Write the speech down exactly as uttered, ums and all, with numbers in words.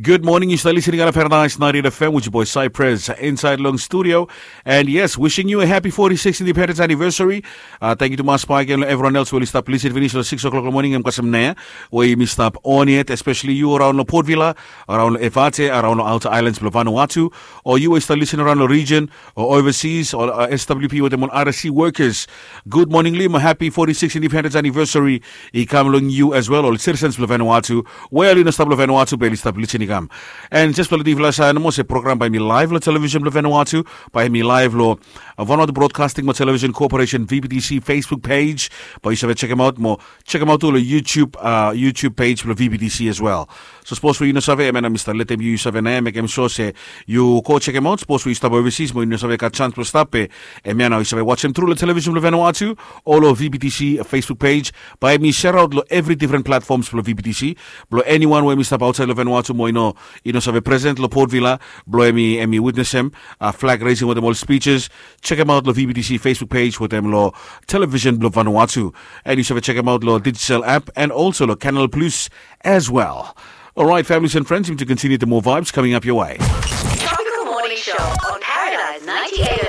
Good morning, yu stap listening on Paradise ninety-eight F M with your boy Cypress inside long studio. And yes, wishing you a happy forty-sixth independence anniversary. Uh, thank you to Mas Pike and everyone else who will stop listening finish lo six o'clock lo morning em kasem nea. Where you stop on it, especially you around lo Port Vila, around lo Efate, around lo outer islands lo Vanuatu, or you will start listening around lo region or overseas or uh, S W P with them on R S C workers. Good morning, Lima. Happy forty-sixth independence anniversary. I kam long you as well, all citizens lo Vanuatu. Well, you know stop lo Vanuatu, but you stop listening kam. And just for the Divla Sign, mo se program by me live lo television lo Vanuatu, by me live lo uh, Vanuatu Broadcasting mo Television Corporation V B T C Facebook page. By you save check them out mo check them out lo YouTube uh, YouTube page lo V B T C as well. So suppose we you know save, I mean, Mister Let them you save name, make them sure say you go check them out. Suppose we stop overseas, mo you know save got chance to stop it. And man, you save watch them through the television lo Vanuatu, all of V B T C Facebook page. By me share out lo every different platforms lo V B T C. Blo anyone where me stop outside lo Vanuatu, mo you know, you know save present lo Port Vila, blo emi emi witness him, uh, flag raising with them all speeches. Check them out lo V B T C Facebook page with them lo television blo Vanuatu. And you save check them out lo digital app and also lo Canal Plus as well. All right, families and friends, to continue the more vibes coming up your way. Tropical Morning Show on Paradise ninety-eight